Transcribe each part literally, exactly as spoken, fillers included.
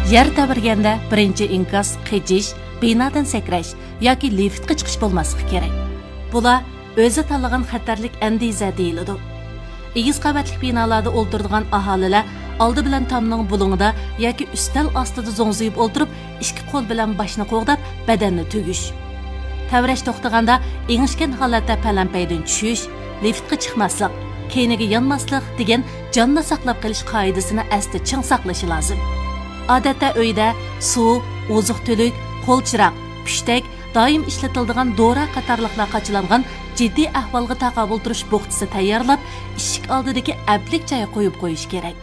يەر تەۋرىگەندە بىرىنچى ئىنكاس قېچىش، بىنادىن سەكرەش ياكى لىفتقا چىقىش بولماسلىقى كېرەك. بۇلار ئۆزى تاللىغان خەتەرلىك ئەندىزە دېيىلىدۇ. ئېگىز قەۋەتلىك بىنالاردا ئولتۇرىدىغان ئاھالىلەر ئالدى بىلەن تامنىڭ بۇلۇڭىدا ياكى ئۈستەل ئاستىدا زوڭزىيىپ ئولتۇرۇپ، ئىككى قول بىلەن باشنى قوغداپ، بەدەننى تۈگۈش. تەۋرەش توختىغاندا ئېڭىشكەن ھالەتتە پەلەمپەيدىن چۈشۈش، لىفتقا چىقماسلىق، كەينىگە يانماسلىق دېگەن جاننى ساقلاپ قېلىش قائىدىسىنى ئەستە چىڭ ساقلىشى لازىم. ئادەتتە ئۆيدە سۇ، ئوزۇق-تۈلۈك، قول چىراغ، پۈشتەك، دائىم ئىشلىتىلىدىغان دورا قاتارلىقلار قاچىلانغان جىددىي ئەھۋالغا تاقابىل تۇرۇش بوخچىسى تەييارلاپ، ئىشىك ئالدىدىكى ئەپلىك جايغا قويۇپ قويۇش كېرەك.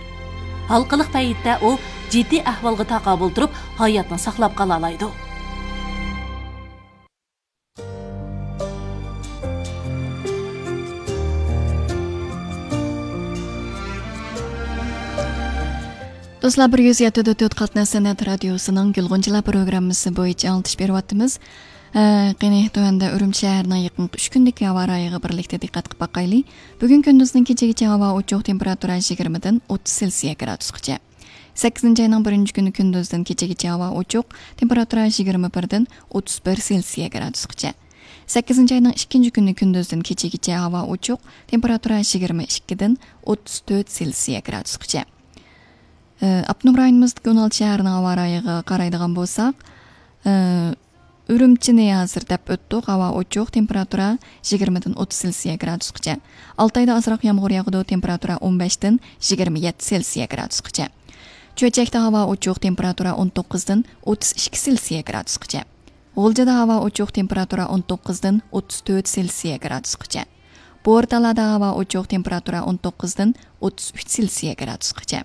ھالقىلىق پەيتتە ئۇ جىددىي ئەھۋالغا تاقابىل تۇرۇپ، ھاياتنى ساقلاپ قالالايدۇ. دوستلار، بىر يۈز يەتتە دە تۆت قاتناش سەنئەت رادىيوسىنىڭ گۈلغۇنچىلار پروگراممىسى بويىچە ئاڭلىتىش بېرىۋاتىمىز. ئە، قېنى، تۆۋەندە ئۈرۈمچى شەھىرىنىڭ يېقىنقى ئۈچ كۈندىكى ھاۋا رايىغا بىرلىكتە دىققەت قىلىپ باقايلى. بۈگۈن كۈندۈزدىن كېچىگىچە ھاۋا ئوچۇق، تېمپېراتۇرا يىگىرمىدىن ئوتتۇز سېلسىيە گرادۇسقىچە. سەككىزىنچى ئاينىڭ بىرىنچى كۈنى كۈندۈزدىن كېچىگىچە ھاۋا ئوچۇق، تېمپېراتۇرا يىگىرمە بىردىن ئوتتۇز بىر سېلسىيە گرادۇسقىچە. سەككىزىنچى ئاينىڭ ئىككىنچى كۈنى كۈندۈزدىن كېچىگىچە ھاۋا ئوچۇق، تېمپېراتۇرا يىگىرمە ئىككىدىن ئوتتۇز تۆت سېلسىيە گرادۇسقىچە. ئاپتونوم رايونىمىزدىكى ئون ئالتە شەھەرنىڭ ھاۋا رايىغا قارايدىغان بولساق، ئۈرۈمچىنى ھازىر دەپ ئۆتتۇق، ھاۋا ئوچۇق، تېمپېراتۇرا يىگىرمىدىن ئوتتۇز سېلسىيە گرادۇسقىچە. ئالتايدا ئازراق يامغۇر ياغىدۇ، تېمپېراتۇرا ئون بەشتىن يىگىرمە يەتتە سېلسىيە گرادۇسقىچە. چۆچەكتە ھاۋا ئوچۇق، تېمپېراتۇرا ئون توققۇزدىن ئوتتۇز ئىككى سېلسىيە گرادۇسقىچە. غۇلجىدا ھاۋا ئوچۇق، تېمپېراتۇرا ئون توققۇزدىن ئوتتۇز تۆت سېلسىيە گرادۇسقىچە. بورتالادا ھاۋا ئوچۇق، تېمپېراتۇرا ئون توققۇزدىن ئوتتۇز ئۈچ سېلسىيە گرادۇسقىچە.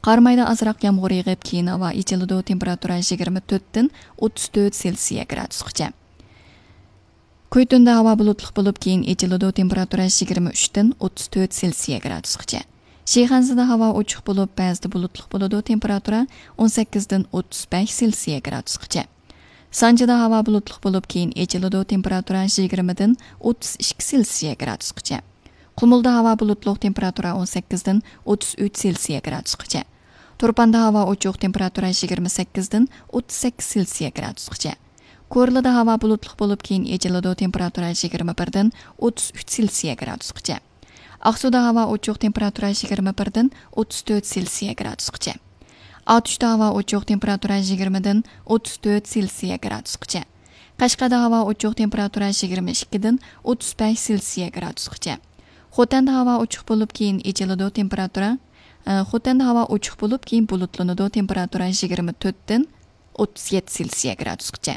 قارامايدا ئازراق يامغۇر يېغىپ، كېيىن ھاۋا ئېچىلىدۇ، تېمپېراتۇرا يىگىرمە تۆتتىن ئوتتۇز تۆت سېلسىيە گرادۇسقىچە. كۇيتۇندا ھاۋا بۇلۇتلۇق بولۇپ، كېيىن ئېچىلىدۇ، تېمپېراتۇرا يىگىرمە ئۈچتىن ئوتتۇز تۆت سېلسىيە گرادۇسقىچە. شىخەنزىدە ھاۋا ئوچۇق بولۇپ، بەزىدە بۇلۇتلۇق بولىدۇ، تېمپېراتۇرا ئون سەككىزدىن ئوتتۇز بەش سېلسىيە گرادۇسقىچە. سانجىدا ھاۋا بۇلۇتلۇق بولۇپ، كېيىن ئېچىلىدۇ، تېمپېراتۇرا يىگىرمىدىن ئوتتۇز ئىككى سېلسىيە گرادۇسقىچە. قۇمۇلدا ھاۋا بۇلۇتلۇق، تېمپېراتۇرا ئون سەككىزدىن ئوتتۇز ئۈچ سېلسىيە گرادۇسقىچە. تۇرپاندا ھاۋا ئوچۇق، تېمپېراتۇرا يىگىرمە سەككىزدىن ئوتتۇز سەككىز سېلسىيە گرادۇسقىچە. كورلىدا ھاۋا بۇلۇتلۇق بولۇپ، كېيىن ئېچىلىدۇ، تېمپېراتۇرا يىگىرمە بىردىن ئوتتۇز ئۈچ سېلسىيە گرادۇسقىچە. ئاقسۇدا ھاۋا ئوچۇق، تېمپېراتۇرا يىگىرمە بىردىن ئوتتۇز تۆت سېلسىيە گرادۇسقىچە. ئاتۇشتا ھاۋا ئوچۇق، تېمپېراتۇرا يىگىرمىدىن ئوتتۇز تۆت سېلسىيە گرادۇسقىچە. قەشقەردە ھاۋا ئوچۇق، تېمپېراتۇرا يىگىرمە ئىككىدىن ئوتتۇز بەش سېلسىيە گرادۇسقىچە. خوتەندە ھاۋا ئوچۇق بولۇپ، كېيىن ئېچىلىدۇ، تېمپېراتۇرا، ئە، خوتەندە ھاۋا ئوچۇق بولۇپ، كېيىن بۇلۇتلىنىدۇ، تېمپېراتۇرا يىگىرمە تۆتتىن ئوتتۇز يەتتە سېلسىيە گرادۇسقىچە.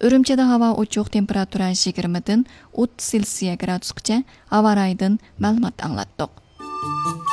ئۈرۈمچىدە ھاۋا ئوچۇق، تېمپېراتۇرا يىگىرمىدىن ئوتتۇز سېلسىيە گرادۇسقىچە. ھاۋا رايىدىن مەلۇمات ئاڭلاتتۇق.